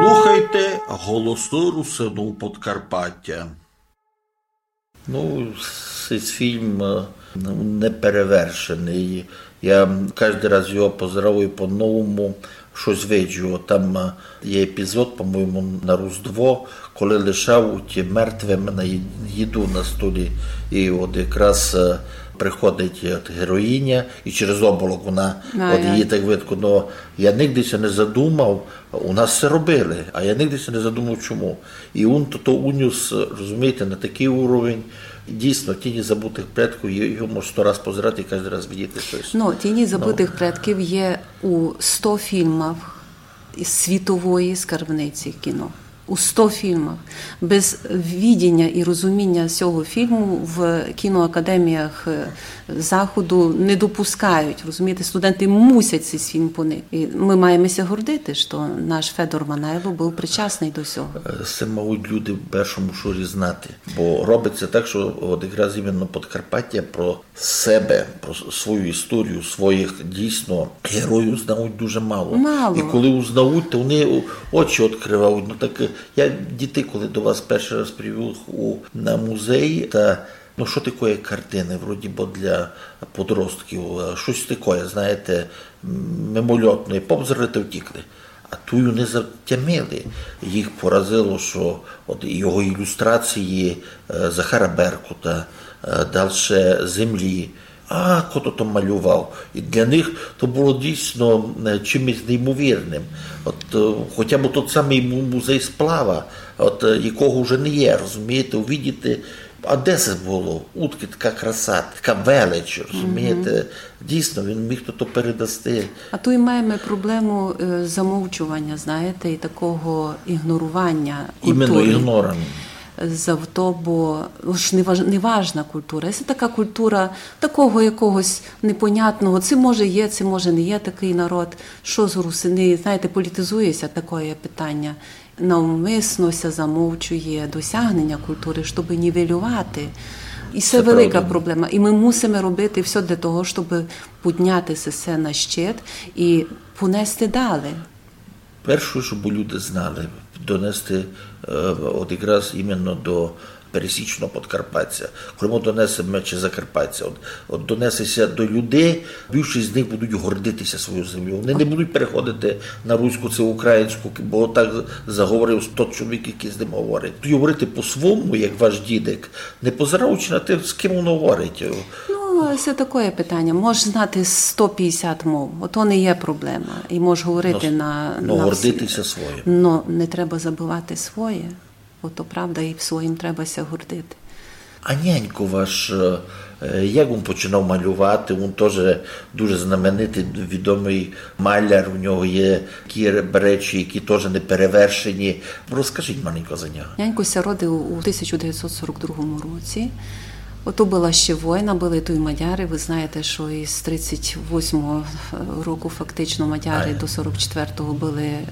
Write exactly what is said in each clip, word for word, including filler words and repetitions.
Слухайте «Голосы Русинув Подкарпатя». Ну, цей фільм е, неперевершеный. Я каждый раз його позирав і по-новому штось виджу. Там е, є епізод, по-моєму, на Різдво, коли лишавуть мертвым на ї- їду на столі. І от якраз е, приходить от героїня, і через оболок вона, А, от я- її так видко. Но я нигде ся не задумав, у нас це робили, а я нигде ся не задумав, чому. І він то, то унюс, розумієте, на такый уровень. Дійсно, «Тіні забутых предків», є- його мож сто раз позирати і каждый раз видіти штось. Ну, «Тіні забытых предків» є у сто фільмах із світової скарбниці кіно. У сто фільмах. Без видіня і розуміня сього фільму в кіноакадеміях е, Заходу не допускають. Розумієте, студенты мусять цей фільм поникати. І мы маєме ся гордити, што наш Федор Мангайло быв причасный до сього. Е, Це мають люди в першому шорі знати. Бо робить ся так, што от якраз іменно Подкарпатя про себе, про с- свою історію, своїх дійсно героїв знають дуже мало. Мало. І коли узнають, то вони о- очі відкривають. Ну так е, я дітей, коли до вас першый раз привів у на музей, та ну що таке картины, вроді бы для подростків, е, штось таке, знаєте, м, мимольотне, повзрали та втікли. А туй вони затямили. Їх поразило, што от його ілюстрації е, Захара Беркута, е, дальше «Землі». А хто то малював? І для них то было дійсно е, чимось неймовірным. От е, хоча б тот самый му- музей сплава, от е, якого вже не є, розумієте, увидіти. А де це было? Удкы така краса, така велич, розумієте? Дійсно, він міг то, то передасти. А туй маєме проблему е, замовчуваня, знаєте, і такого ігноруваня Іменно культуры. Ігнором. Завто, бо уж не важ- не важна культура. Це така культура такого якогось непонятного. Це може є, це може не є такый народ. Што з русины, знаєте, політизує ся такоє питаня. Навмисно ся замовчує досягнення культуры, щоб нівелювати. І це Це велика правда. Проблема. І мы мусиме робити всьо для того, щоб підняти се на щит і понести далі. Перше, щоб люди знали, донести е, от якраз іменно до пересічного подкарпатця. Коли ми донесеме, чи закарпатця, от, от донесе ся до людей, більшість з них будуть гордити ся своєю землею. Вони не будуть переходити на руську чи українську, бо так заговорив тот чоловік, який з ним говорить. Тоді говорити по-своєму, як ваш дідик, не позираючи на те, з ким він говорить. Ну, це таке питання. Можеш знати сто пятдесят мов, ото не є проблема. І можеш говорити Ну, на, ну, на гордити всі. Ся своїм. Но не треба забывати своє. Ото правда, і в своїм треба ся гордити. А нянько ваш, е, як він починав малювати? Він теж дуже знаменитий, відомий маляр, у нього є такі речі, які теж не перевершені. Розкажіть маленько за нього. Нянько ся родив у тисяча девятсот сорок другому році. Ото была ще война, были туй мадяри. Вы знаєте, што із тридцять восьмого року фактично мадяри Ай. До сорок четвертого были е,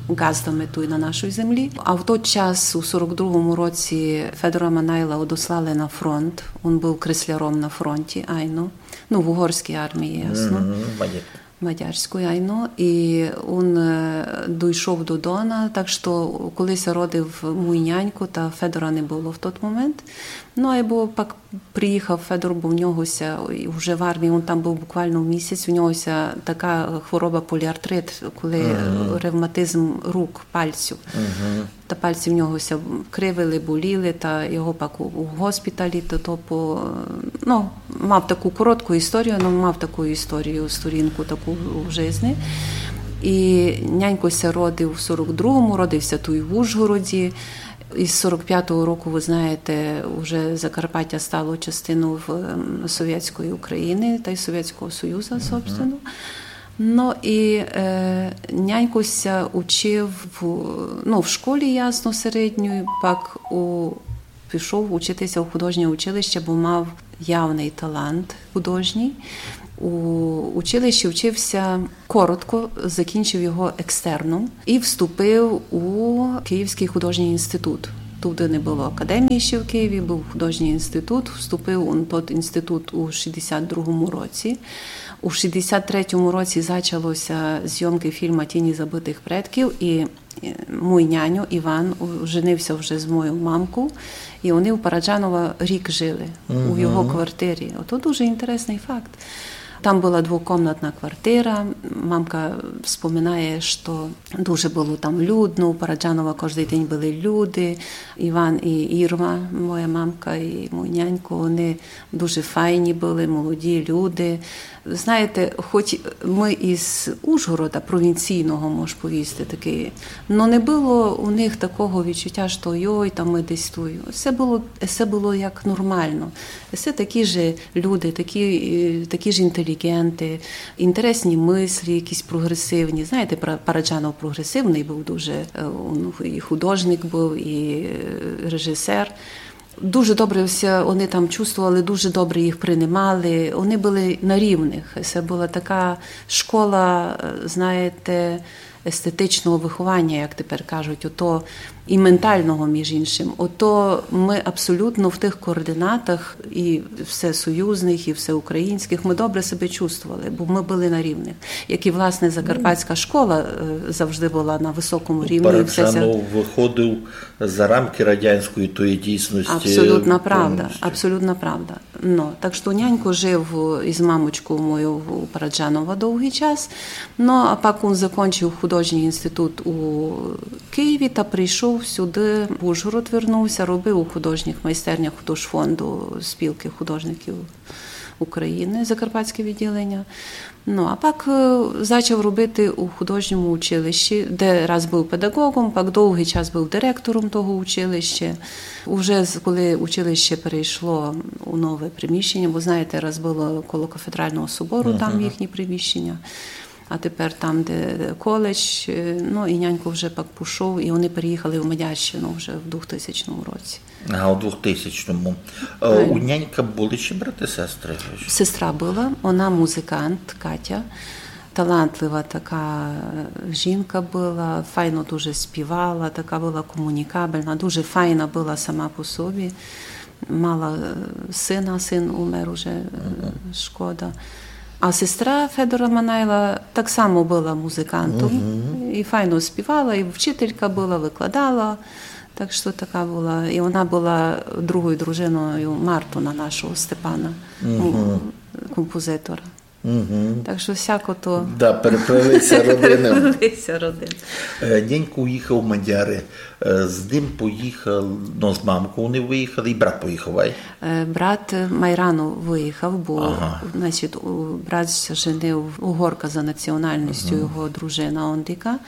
ґаздами туй на нашій землі. А в той час, у сорок другому році, Федора Мангайла одослали на фронт. Він быв кресляром на фронті, айно. Ну, в угорській армії, ясно. Мгм, мадяр. Мадярської, айно. І він е, дойшов до Дона, так што коли ся родив мій нянько, та Федора не было в тот момент. Ну, айбо пак приїхав Федор, бо в нього ся, і вже в армії, він там быв буквално місяць, у нього ся така хвороба поліартрит, коли е, ревматизм рук, пальцю. Та пальці в нього ся кривили, боліли, та його пак у, у госпіталі, то, то по, ну, мав таку коротку історію, але мав таку історію, сторінку таку в жизни. І нянько ся родив в сорок другому, родив ся туй в Ужгороді. Із сорок пятого року, вы знаєте, вже Закарпаття стало частиною в, ем, Совєтської України та й Совєтського Союзу, собственно. Ну і е, нянько ся учив в, ну, в школі, ясно, середньої, пак у, пішов учити ся у художнє училище, бо мав явный талант художній. У училищі вчив ся коротко, закінчив його екстерном і вступив у Київський художній інститут. Туды не было академії ще в Києві, быв художній інститут. Вступив он тот інститут у шістдесят другому році. У шістдесят третьому році зачало ся зйомкы фільма «Тіні забытых предків», і Мой няньо Іван у-, женив ся вже з мойов мамков, і они у Параджанова рік жили, у його квартирі. Ото дуже інтересный факт. Там была двокомнатна квартира. Мамка вспоминає, што дуже было там людно, у Параджанова кождый день были люди. Іван і Ірма, моя мамка і мой нянько, они дуже файні были, молоді люди. Знаєте, хоть мы із Ужгорода, провінційного, мож повісти, такый, но не было у них такого відчуття, што йой, там мы десь туй. Всьо было, всьо было як нормално. Всьо такі ж люди, такі, е, такі ж інтеліґенты, інтересні мыслі, якісь прогресивні. Знаєте, Пара-, Параджанов прогресивный быв дуже, е, он і художник быв, і, е, режісер. Дуже добре ся они там чувствовали, дуже добре їх принимали. Они были на рівных. Се была така школа, е, знаєте, естетичного выхованя, як тепер кажуть, ото і менталного, між іншым. Ото мы абсолютно в тых координатах і всесоюзных, і всеукраїнськых, мы добре себе чувствовали, бо мы были на рівных. Як і, власне, закарпатська школа, е, завжди была на высокому рівні. І все ся Параджанов выходив за рамки радянської тої дійсности. Абсолютна правда, повністю. Абсолютна правда. Но, так што нянько жив із мамочков мойов у Параджанова довгый час. Но, а пак он закончив художній інститут у Києві та прийшов сюды, в Ужгород вернув ся, робив у художніх майстернях художфонду Спілкы художників України, Закарпатське відділення. Но, а пак, е, зачав робити у художньому училищі, де раз быв педагогом, пак довгый час быв директором того училища. Уже з-, коли училище перейшло у нове приміщення, бо, знаєте, раз было коло кафедрального собору, там їхні приміщення, а тепер там, де коледж, е, но, і нянько вже пак пішов, і они переїхали в Мадярщину вже в двохтисячному році. Ага, у двохтисячному. Е, у нянька были ще брати, сестри? Сестра была, она музикант, Катя. Талантлива така, е, жінка была, файно дуже співала, така была комунікабельна, дуже файна была сама по собі. Мала, е, сына, сын умер уже, е, шкода. А сестра Федора Манайла так само была музикантом, і файно співала, і вчителька была, выкладала. Так што така была. І она была другою дружиною Мартона, нашого Степана, ну, композитора. Так што всяко то. Да, переплели ся родины. Переплели ся родины. Е, нянько уїхав в Мадяри. Е, з ним поїхав, ну, з мамков они выїхали, і брат поїхав, ай? Е, брат, е, май рано выїхав, бо, значить, у-, брат ся женив, угорка за національністю, його дружина Ондика.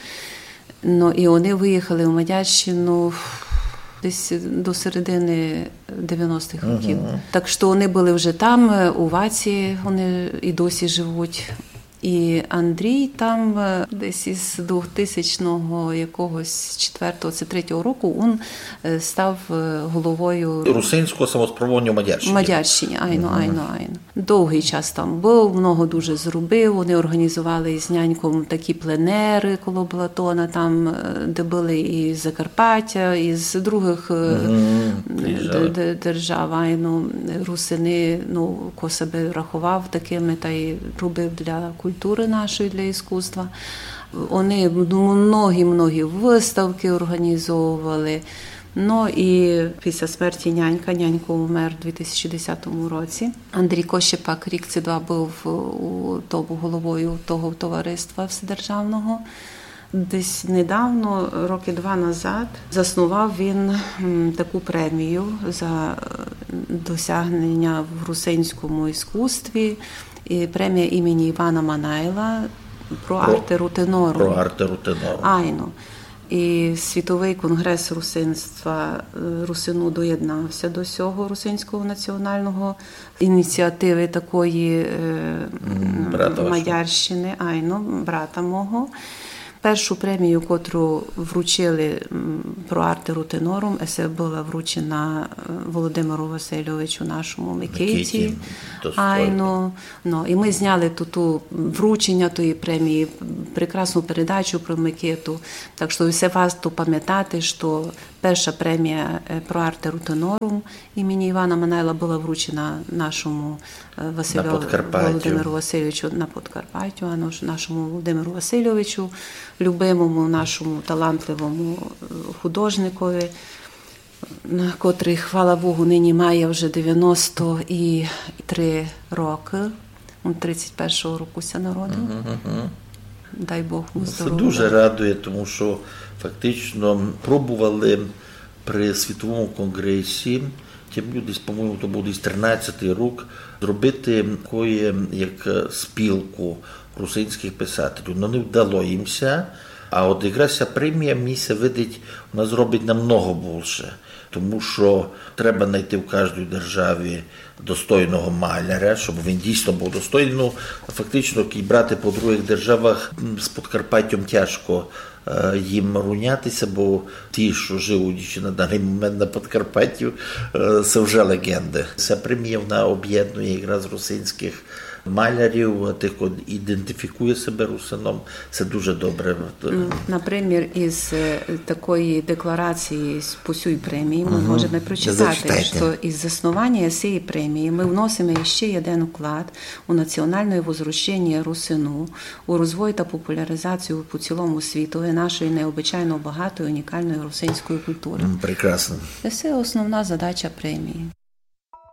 Но, і они выїхали в Мадярщину десь до середины девяностых років. Так што они были вже там, е, у Ваці, они і досі живуть. І Андрій там, е, десь із двохтисячного якогось четвертого ци третього року він, е, став, е, головою Русинського самосправління у Мадярщині. Мадярщині, айно, айно, айно. Довгый час там быв, много дуже зробив. Они організовали із няньком такі пленеры коло Балатона, там, е, де были і з Закарпаття, і з другых, е, де-, де-, держав, айно, русины, ну, ко себе раховав такыми, та й робив для културы нашої, для іскусства. Они, ну, многі-многі выставкы організовували. Ну, і після смерті нянька, нянько умер у дві тисячі десятому році. Андрій Кощепак рік ци два быв у тому головою того товариства вседержавного. Десь недавно, рокы два назад, заснував він, м, таку премію за, е, досягнення в русинському іскусстві. І премія імені Івана Манайла про Про, Arte Ruthenorum. Про Arte Ruthenorum. Айно. І Світовый конґрес русинства, е, русину доєднав ся до сього русинського національного ініціативы такої, е, брата вашого. Мадярщины, айно, брата мого. Першу премію, котру вручили, м, про Arte Ruthenorum, се была вручена, е, Володимиру Васильовичу, нашому Микиті. Микиті, достойно. Айно. Ну, і мы зняли ту, ту вручення тої премії, прекрасну передачу про Микиту. Так што всьо варто памятати, што перша премія, е, про Arte Ruthenorum імені Івана Манайла была вручена нашому, е, Василю-, на Подкарпаттю. Володимиру Васильовичу на Подкарпаттю, а наш-, нашому Володимиру Васильовичу. любимому нашому талантливому, е, художникови, на котрый, хвала Богу, нині має вже девяносто три рокы. Він тридцять першого року ся народив. Дай Бог му здоровя. Се дуже радує, тому што фактично пробовали при світовому конґресі, тым десь, по-моєму, то быв десь тринадцятый рік, зробити такоє, як, е, спілку русинськых писателів. Но не вдало їм ся, а от якраз ся премія, мені ся видить, вона зробить намного булше. Тому што треба найти в каждій державі достойного маляря, щоб він дійсно быв достойный. Ну, фактично, як брати по другых державах, м, з Подкарпаттям тяжко, е, їм руняти ся, бо ті, што живуть іщи на даный момент на Подкарпаттю, е, се вже леґенды. Ся премія, вона обєднує якраз русинськых малярів, тых, хто ідентифікує себе русином. Се дуже добре. М, например, із, е, такої декларації з, по сюй премії мы можеме прочитати, што із заснованя сеї премії мы вносиме іщи єден вклад у націоналне возрожденя русину, у розвой та популяризацію по цілому світу нашої необычайно богатої, унікалної русинської културы. М, прекрасно. Се основна задача премії.